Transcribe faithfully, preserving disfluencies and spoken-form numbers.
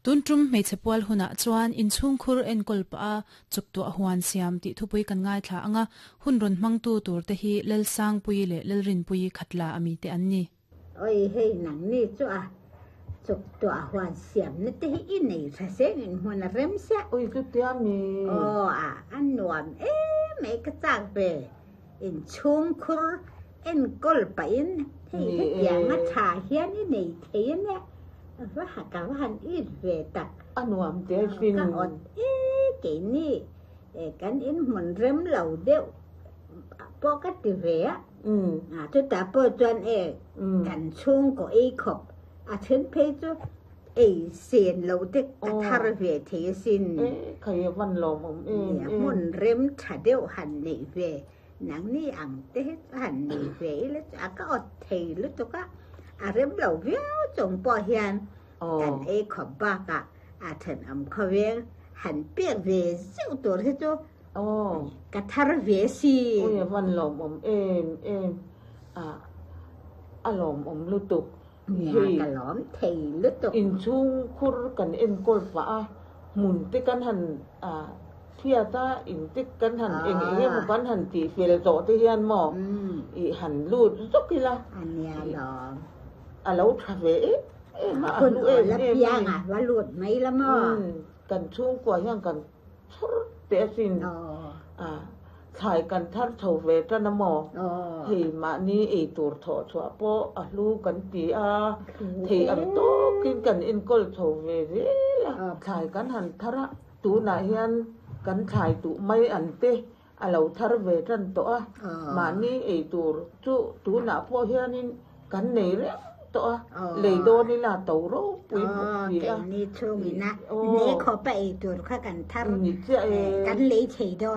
Tun tum hmeichhe pual hunah chuan inchhungkhur enkawl pah a chuktuah huan siam tih thupui kan ngaithla anga hun rawn hmangtu tur te hi Lalsangpuii leh Lalrinpuii Khatla ami te an ni. Oi hei nang ni chu a chuktuah huan siam na te hi i nei tha seng in hmun a rem sia. Oi chu tia mi. Aw a a nuam em mai ka chak ve inchhungkhur enkawl pah in hei hetiang a tha hian i nei thei a nia. Va ha ka va han it ve tak. A nuam te sin. Ka awt e keini kan in hmun rem lo deuh pawh ka ti ve a. Chutah pawh chuan e kan chhungkaw ei khawp a then phei chu ei sen lo te ka thar ve thei asin. E khai a van lawmawm em em. Hmun rem tha deuh han neih ve nangni ang te hi chu han nei ve ila chu a ka awt thei lutuk a. A rem lo viau chung pawh hian kan ei khawp bakah a thenawm khawveng han pek ve zeuh tur hi chu ka thar ve si. Ui a van lawmawm em em a a lawmawm lutuk. Nia ka lawm thei lutuk. Inchhungkhur kan enkawl pah a hmun te kan han a Phiat a intik kan han eng eng emaw kan han tih fel tawh te hian maw i han lut zawk ila a lo tha ve em em a, a hlu em em a ni. Kan chhungkua hian kan chhawr teh asin a thlai kan thar chho ve tan a maw hei mahni ei tur thawh chhuah pawh a hlu kan ti a, thei ang tawkin kan enkawl chho ve zel a, thlai kan han thar a. Tunah hian kan thlai tuh mai an te a lo thar ve tan tawh a, mahni ei tur chu tunah pawh hianin kan nei reng tawh a, lei dawn ila to ropui bawk si a. Keini chhungina ne khawpa ei tur kha kan thar kan lei thei dawn.